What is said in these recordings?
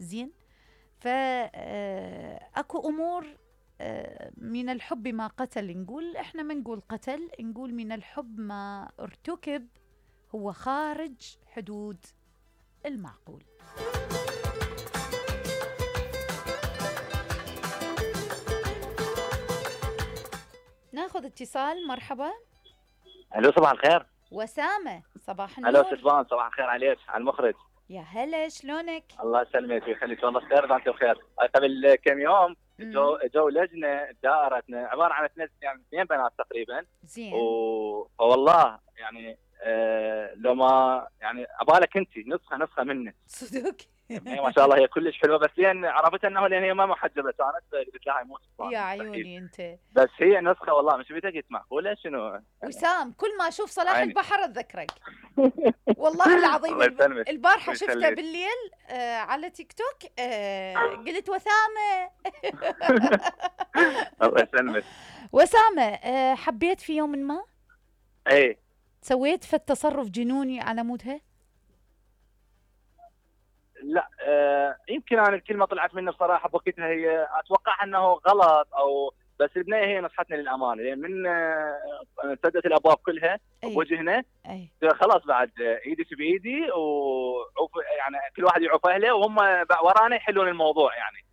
زين. فأكو أمور من الحب ما قتل، نقول إحنا ما نقول قتل، نقول من الحب ما ارتكب هو خارج حدود المعقول. ناخذ اتصال. مرحبا. الو صباح الخير. وسامة صباح النور. الو ستفان صباح الخير عليك، على المخرج. يا هلا شلونك؟ الله يسلمك ويخليك، والله بخير وانت بخير. قبل كم يوم جو لجنه دائرتنا عباره عن يعني 2 بنات تقريبا. زين. والله يعني لو ما يعني عبالك انت نسخه منه صدق. ما شاء الله هي كلش حلوه، بس لين عرفت انه لان هي ما محجبه كانت قلت لها مو صفان. يا عيوني انت. بس هي نسخه والله مش بدك معقوله شنو. وسام كل ما اشوف صلاح البحر اتذكرك. والله العظيم. البارحه شفته بالليل على تيك توك قلت وسامه. الله يسلمك. وسامه حبيت في يوم ما؟ اي. سويت في التصرف جنوني على مودها؟ لا يمكن انا الكلمه طلعت مني بصراحه بوقتها، هي اتوقع انه غلط او بس البنيه هي نصحتني للامانه، لان من سدت الابواب كلها بوجهنا خلاص بعد ايدك بايدي يعني كل واحد يعوف اهله وهم ورانا يحلون الموضوع يعني.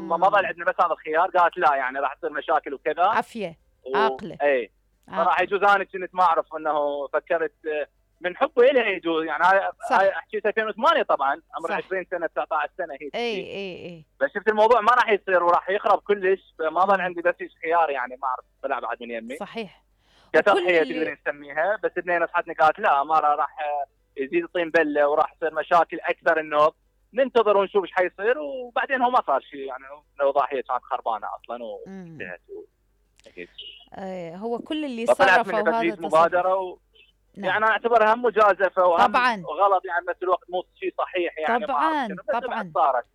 ما ظل عندنا بس هذا الخيار، قالت لا يعني راح تصير مشاكل وكذا. عافيه عاقله. اي صراحه يجوز انا كنت ما اعرف انه فكرت من حبه إلها يجوز يعني. هاي حكيت 2008 طبعا عمر 20 سنه 19 سنه هي. اي بس شفت الموضوع ما راح يصير وراح يخرب كلش، فما ظل عندي بس خيار يعني ما اعرف طلع بعد من يمي. صحيح. كتضحيه تقدر نسميها، بس اثنين نصحتني قالت لا ما راح يزيد طين بله وراح يصير مشاكل اكثر، النوب ننتظر ونشوف ايش حيصير. وبعدين هو ما صار شيء يعني، لو ضاحيه كانت خربانه اصلا وانتهت. هو كل اللي صرفه وهذا مبادره يعني اعتبرها مجازفه طبعا وغلط يعني، بس الوقت مو شيء صحيح يعني. طبعا صارت.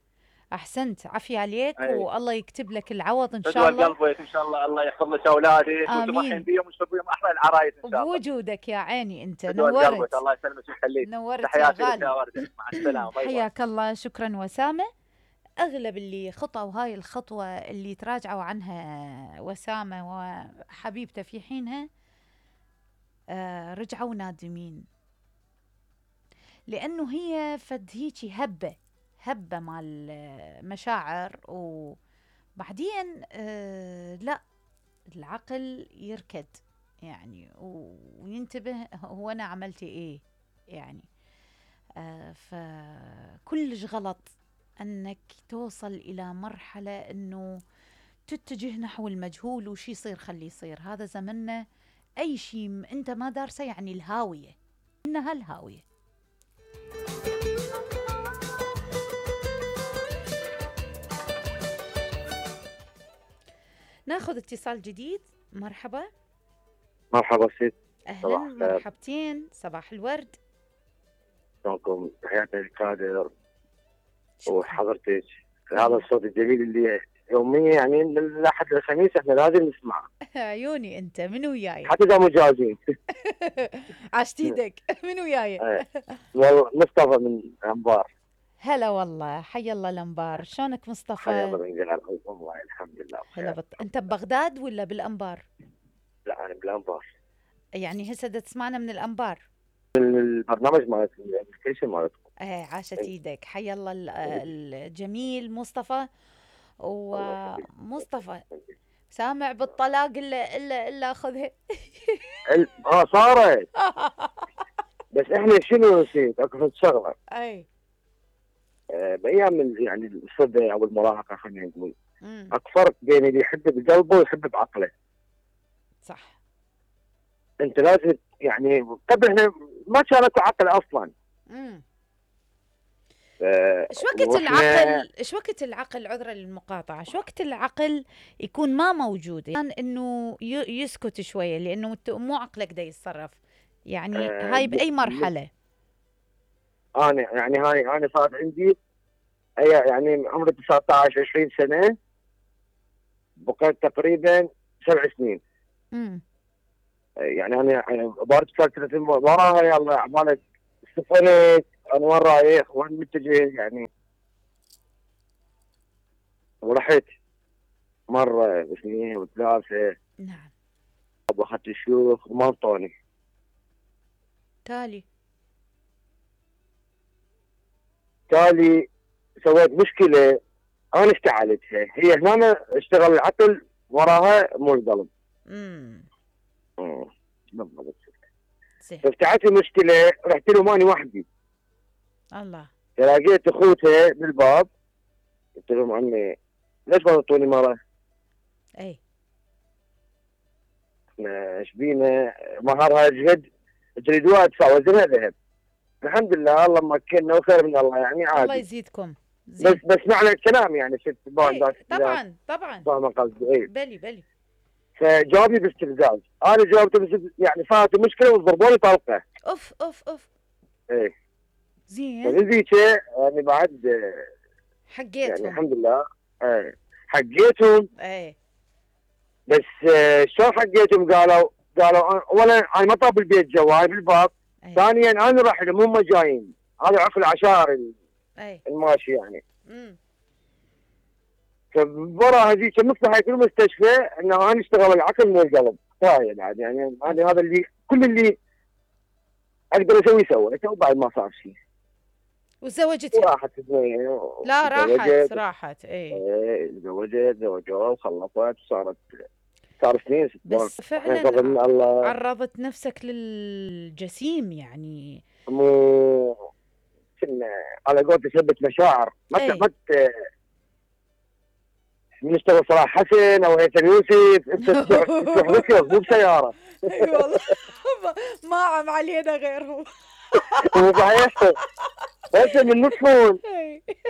احسنت عافيه عليك. والله يكتب لك العوض ان شاء الله. قلبك ان شاء الله، الله يحفظ لك اولادك وتفرحين بيهم وتشوف بيهم احلى العرايس ان شاء الله. بوجودك يا عيني انت نورت. قلبك الله يسلمك ويخليك. نورت يا غالي. مع السلامه. حياك الله. شكرا وسامه. اغلب اللي خطوا هاي الخطوه اللي تراجعوا عنها وسامه وحبيبته في حينها رجعوا نادمين، لأنه هي فد هيجي هبة مال مشاعر، وبعدين لا العقل يركد يعني وينتبه هو أنا عملت إيه يعني. فكلش غلط أنك توصل إلى مرحلة أنه تتجه نحو المجهول وشي يصير خلي يصير. هذا زمننا أي شيء أنت ما دارسه يعني الهاوية، إنها الهاوية. ناخذ اتصال جديد. مرحبا. مرحبا ست. أهلا مرحبتين. صباح الورد. شلونكم؟ تحياتي للكادر وحضرتك. هذا الصوت الجميل اللي يوميا يعني من الاحد للخميس احنا لازم نسمعه. عيوني انت. من وياي؟ حتى اذا مجازين. عشت ايدك. من وياي؟ والله مصطفى من الانبار. هلا والله. حي الله الانبار. شلونك مصطفى؟ حي الله من جلال والله الحمد لله بخير. انت ببغداد ولا بالانبار؟ لا انا بالانبار. يعني هسه تسمعنا من الانبار؟ البرنامج مالتكم الابلكيشن مالتكم. عاشت ايدك. حي الله الجميل مصطفى. ومصطفى سامع بالطلاق الا اخذها. صارت. بس احنا شنو نسيت اكو شغله. اي بايام يعني الصبا او المراهقه خلينا نقول اكو فرق بين اللي يحب بقلبه ويحب بعقله. صح. انت لازم يعني قبل احنا ما كان اكو عقل اصلا. ايش وقت العقل عذرا للمقاطعه، ايش وقت العقل يكون ما موجود يعني انه يسكت شويه لانه مو عقلك دا يتصرف يعني. هاي باي مرحله؟ انا صار عندي يعني عمري 19 20 سنه، بقيت تقريبا 7 سنين. يعني انا بارت فتره وراها يلا عمالك استفنت انا وين رايح وين متجه يعني. ورحت مرة واثنين وثلاثة. نعم. أخذت الشيوخ وما انطوني. تالي سويت مشكلة، أنا اشتعلتها، هي هنا اشتغل العقل وراها مو القلب. بالضبط. فافتعلت لي مشكلة، رحت له ماني وحدي. الله. لقيت اخوتها بالباب، قلت لهم عمي ليش ما تعطوني مرة؟ اي احنا ايش بينا مهرها جهد، تريدوها ادفع وزنها ذهب. الحمد لله الله مكننا وخير من الله يعني عادي. الله يزيدكم. بس معنى الكلام يعني شفت طبعا فاهمة قصدي. اي بلي فجاوبني باستفزاز، انا جاوبته يعني صارت المشكلة وضربوني طلقة. اوف ايه زين. فنزيك يعني بعد حقيتهم يعني الحمد لله. حقيتهم. ايه بس شلون حقيتهم؟ قالوا اولا انا ما طاب البيت جواي بالباب. ثانيا انا راح لهم هم جايين، هذا عقل عشار الماشي يعني. فورا هذيك مصلحه في المستشفى انه انا اشتغل العقل مو القلب. كفايه بعد يعني هذا اللي كل اللي اقدر اسويه سويته وبعد ما صار شيء. وتزوجتها؟ وراحت لا راحت. ايه زوجوا وخلصت وصار سنين. بس فعلا عرضت نفسك للجسيم يعني. مو كنا على قولة تثبت مشاعر. ما نشتغل صلاح حسن او هيثم يوسف، انت تروح مكيف مو بسياره. اي والله ما عم علينا غيرهم. مو صحيح. بس من نصفون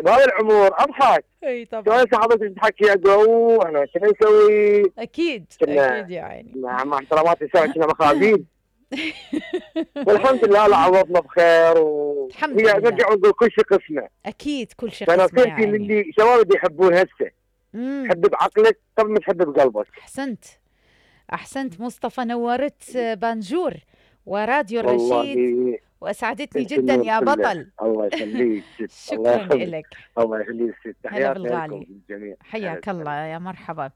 بهذا العمر اضحك. اي طبعا. شلون حضرتك تحكي اقول انا شنو نسوي؟ اكيد يعني مع احتراماتي سوا كنا مخازين. والحمد لله الله عوضنا بخير الحمد لله. نرجع ونقول كل شيء قسمه. اكيد كل شيء قسمه. فنصيحتي يعني للي شباب يحبون هسه، حب بعقلك قبل ما تحب بقلبك. احسنت مصطفى، نورت بانجور وراديو الرشيد واسعدتني جدا يا بطل. الله يخليك. شكرا لك. الله يخليك. تحياتي لكم الجميع. حياك الله يا مرحبا.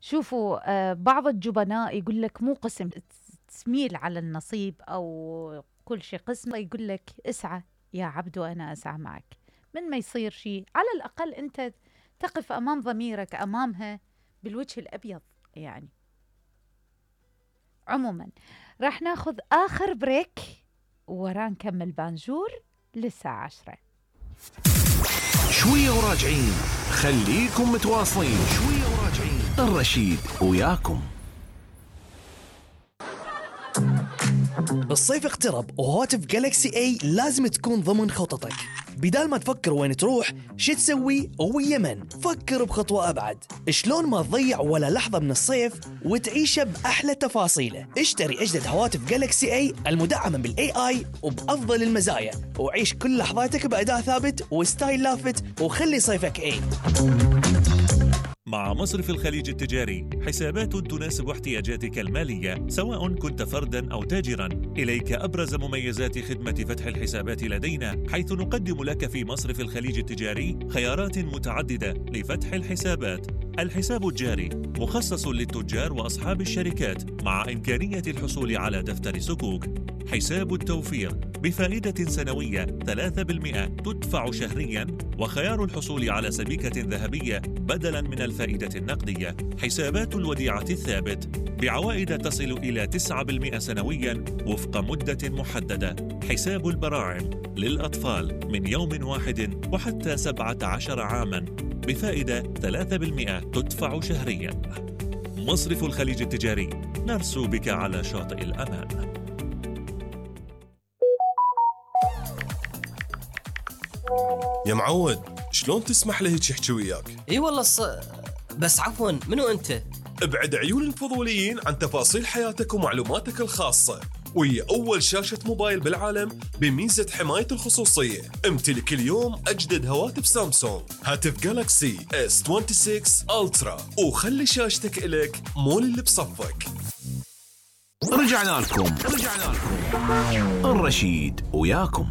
شوفوا بعض الجبناء يقول لك مو قسم تسميل على النصيب او كل شيء قسمه، يقول لك اسعى يا عبد وانا اسعى معك. من ما يصير شيء على الاقل انت تقف امام ضميرك امامها بالوجه الابيض يعني. عموما راح ناخذ اخر بريك ورا نكمل بانجور للساعة 10. شوية وراجعين، خليكم متواصلين. شوية وراجعين، الرشيد وياكم. الصيف اقترب وهواتف جالكسي اي لازم تكون ضمن خططك. بدال ما تفكر وين تروح شو تسوي ويا من، فكر بخطوة أبعد. شلون ما تضيع ولا لحظة من الصيف وتعيشه بأحلى تفاصيله. اشتري أجدد هواتف جالكسي اي المدعمة بالاي اي وبأفضل المزايا، وعيش كل لحظاتك بأداء ثابت وستايل لافت، وخلي صيفك اي. مع مصرف الخليج التجاري حسابات تناسب احتياجاتك المالية سواء كنت فرداً أو تاجراً. إليك أبرز مميزات خدمة فتح الحسابات لدينا، حيث نقدم لك في مصرف الخليج التجاري خيارات متعددة لفتح الحسابات. الحساب الجاري مخصص للتجار وأصحاب الشركات مع إمكانية الحصول على دفتر صكوك. حساب التوفير بفائدة سنوية 3% تدفع شهرياً، وخيار الحصول على سبيكة ذهبية بدلاً من الفائدة النقدية. حسابات الوديعة الثابت بعوائد تصل إلى 9% سنوياً وفق مدة محددة. حساب البراعم للأطفال من يوم واحد وحتى 17 عاماً بفائدة 3% تدفع شهرياً. مصرف الخليج التجاري، نرسو بك على شاطئ الأمان. يا معود، شلون تسمح له هيك يحكي وياك؟ اي والله بس عفوا، منو انت؟ ابعد عيون الفضوليين عن تفاصيل حياتك ومعلوماتك الخاصة، وهي أول شاشة موبايل بالعالم بميزة حماية الخصوصية. امتلك اليوم أجدد هواتف سامسونج، هاتف جالكسي S26 ألترا، وخلي شاشتك إلك مو اللي بصفك. رجعنا لكم الرشيد وياكم.